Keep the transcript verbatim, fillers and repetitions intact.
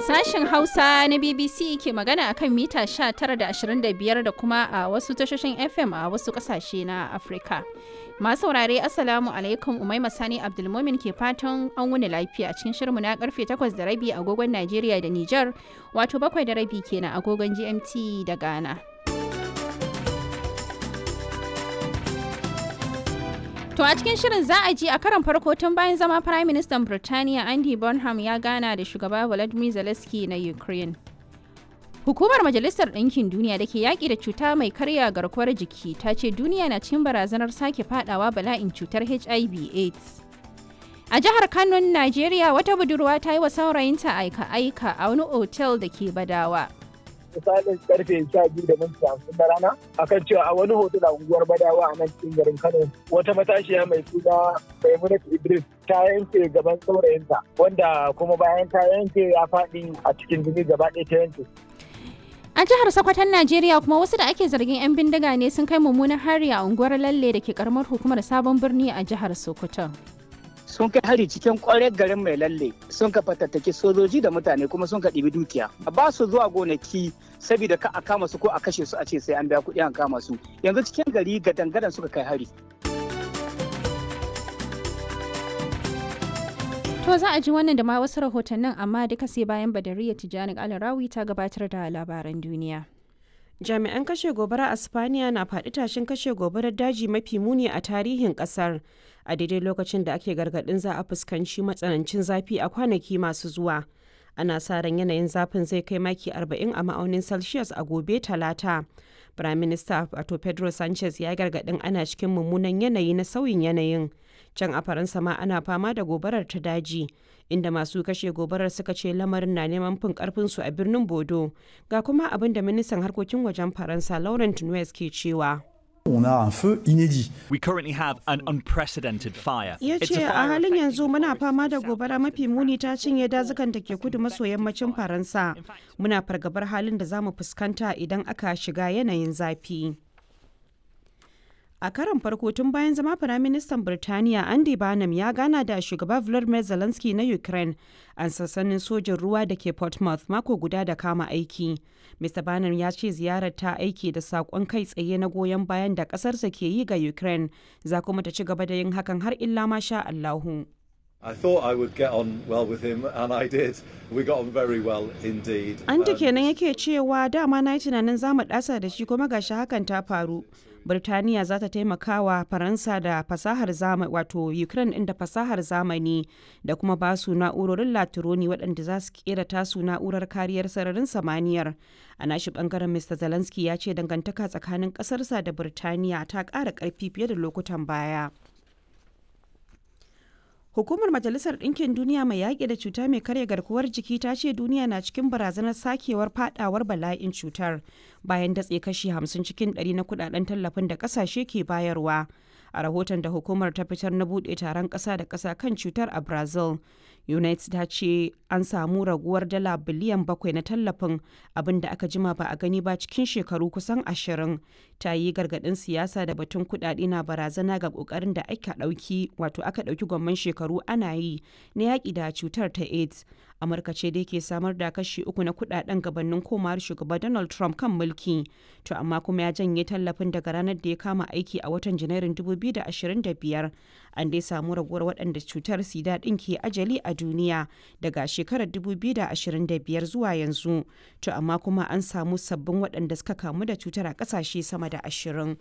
Sashen Hausa na B B C ke magana akan mita sha tara da ashirin da biyar da kuma a wasu tashoshin F M a wasu kasashe na Afirka. Masu saurare, Assalamu alaikum. Umaima Sani Abdulmumin ke fatan an wuni lafiya cikin shirinmu na karfe takwas da rabi agogon Najeriya da Nijar, wato bakwai da rabi kenan agogon G M T da Ghana. To, a cikin shirin za a ji, a karon farko tun bayan zama Prime Minister Birtaniya, Andy Burnham ya gana da shugaba Volodymyr Zelensky na Ukraine. Hukumar Majalisar Ɗinkin Duniya da ke yaƙi da cuta mai karya garkuwar jiki ta ce duniya na cikin barazanar sake fadawa bala'in cutar H I V AIDS. A jihar Kano, Najeriya, wata budurwa ta yi wa saurayinta aika-aika a wani otel da ke Badawa. Misalin karfe sha biyu da minti hamsin na rana, akan cewa a wani hotel a unguwar Badawa a nan cikin garin Kano, wata matashiya mai suna Maimunatu Idris ta yanke gaban saurayinta, wanda kuma bayan ta yanke ya faɗi a cikin jini, gaba ɗaya ta yanke. A jihar Sokoton Najeriya kuma, wasu da ake zargin 'yan bindiga ne sun kai mummunan hari a unguwar Lalle da ke karamar hukumar Sabon Birni a jihar Sokoto. Sun kai hari cikin kwarar garin Mai Lalle, sun ka fatattaki sojoji da mutane, kuma sun ka ɗibi dukiya. Ba su zuwa gonaki saboda ka a kama su ko a kashe su, a ce sai an biya kuɗi an kama su. Yanzu cikin gari ga dangadan suka kai hari. To, za a ji wannan da ma wasu rahotannin, amma duka sai bayan Badariya Tijjani Alarawi ta gabatar da labaran duniya. Jami'an kashe gobara a Spaniya na faɗi tashin kashe gobarar daji mafi muni a tarihin ƙasar a daidai lokacin da ake gargaɗin za a fuskanci matsanancin zafi a kwanaki masu zuwa. Ana sa ran yanayin zafin zai kai maki arba'in a ma'aunin Celsius a gobe Talata. Prime Minister wato Pedro Sanchez ya gargaɗin ana cikin mummunan yanayi na sauyin yanayin. Can a Faransa ma ana fama da gobarar ta daji, inda masu kashe gobarar suka ce lamarin na neman fin karfinsu a birnin Bodo. Ga kuma abin da ministan harkokin wajen Faransa Laurent Nuez ke cewa. On a un feu inédit. We currently have an unprecedented fire. Ya ce a halin yanzu muna fama da gobara mafi muni, ta cinye dazukan da ke kudu maso yammacin Faransa. Muna fargabar halin da za mu fuskanta idan aka shiga yanayin zafi. A karon farko tun bayan zama Firaministan Birtaniya, Andy Burnham ya gana da shugaba Volodymyr Zelensky na Ukraine a sansanin sojin ruwa da ke Portsmouth, mako guda da kama aiki. Mister Burnham ya ce ziyarar ta aiki da saƙon kai tsaye na goyon bayan da ƙasarsa ke yi ga Ukraine, za kuma ta ci gaba da yin hakan har illa ma sha Allahu. I thought I would get on well with him, and I did. We got on very well indeed. Andy kenan yake cewa dama na yi tunanin za mu ɗasa da shi, kuma gashi hakan ta faru. Birtaniya za ta taimaka wa Faransa da fasahar zamani, wato Ukraine ɗin da fasahar zamani, da kuma ba su na'urorin latironi waɗanda za su kera tasu na'urar kariyar sararin samaniyar. A nashi bangaren, Mister Zelensky ya ce dangantaka tsakanin ƙasarsa da Birtaniya ta ƙara ƙarfi fiye da lokutan baya. Hukumar Majalisar Ɗinkin Duniya mai yaƙi da cuta mai karya garkuwar jiki ta ce duniya na cikin barazanar sakewar fadawar bala'in cutar bayan datse kashi hamsin cikin ɗari na kudaden tallafin da ƙasashe ke bayarwa. A rahoton da hukumar ta fitar na buɗe taron ƙasa da ƙasa kan cutar a Brazil, UNAIDS ta ce an samu raguwar dala biliyan bakwai na tallafin, abin da aka jima ba a gani ba cikin shekaru kusan ashirin. Ta yi gargaɗin siyasa da batun kuɗaɗe na barazana ga ƙoƙarin da aka ɗauki, wato aka ɗauki gwamman shekaru ana yi na yaƙi da cutar ta AIDS. Amurka ce dai ke samar da kashi uku na kuɗaɗen gabanin komawar shugaba Donald Trump kan mulki. To amma kuma ya janye tallafin daga ranar da ya kama aiki a watan Janairun dubu biyu da ashirin da biyar. An dai samu raguwar waɗanda cutar sida ɗin ke ajali a duniya daga shekarar dubu biyu da ashirin da biyar zuwa yanzu. To amma kuma an samu sabbin waɗanda suka kamu da cutar a ƙasashe sama da ashirin.